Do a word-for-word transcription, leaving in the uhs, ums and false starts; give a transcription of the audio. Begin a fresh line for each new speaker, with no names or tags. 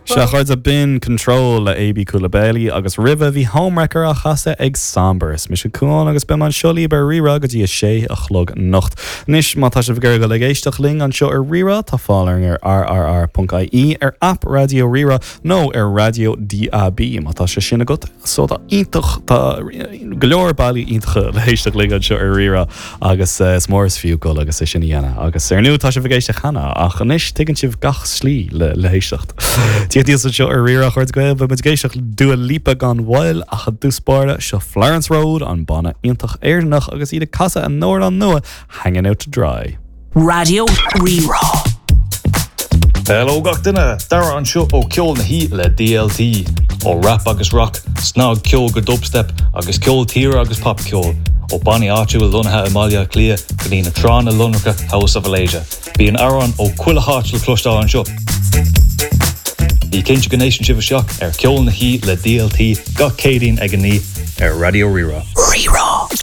Sea a chairde, b'in Control le AB Coulibaly agus roimhe bhí Homewrecker á chasadh ag Somber. Is mise Cuán agus beidh mé anseo libh ar Rí-Rá go dtí a sé a chlog anocht. Anois má tá sibh ag iarraidh dul ag éisteacht linn anseo ar Rí-Rá tá fáil orainn ar rrr.ie ar app Raidió Rí-Rá nó ar Raidió DAB má tá sé sin agat so tá iontach tá go leor bealaí iontacha le héisteacht linn anseo ar Rí-Rá agus eh, is mór is fiú dul agus é sin a dhéanamh agus ar ndóigh tá sibh ag éisteacht cheana ach anois tuigeann sibh gach slí le le héisteacht. Tí seo ar Rí-Rá chuid Gael beidh muid ag éisteacht le Dua Lipa gan mhoill ach i dtús báire seo Florence Road an banna iontach Éireannach agus iad ag casadh a n-amhrán nua Hanging Out to Dry.
Raidió Rí-Rá.
Hello gach duine Dara anseo ó Ceol na hOíche le DLT ó rap agus rock, snagcheol go dubstep agus ceol tíre agus popcheol ó bannaí áitiúil lonnaithe i mBaile Átha Cliath go dtí na tránna lonracha House of Alasia. Bíonn amhráin ó chuile háit le cloisteáil anseo. Bí cinnte go n-éisteann sibh isteach ar Ceol na hOíche le DLT gach Céadaoin ag a naoi ar Raidió Rí-Rá.
Rí-Rá.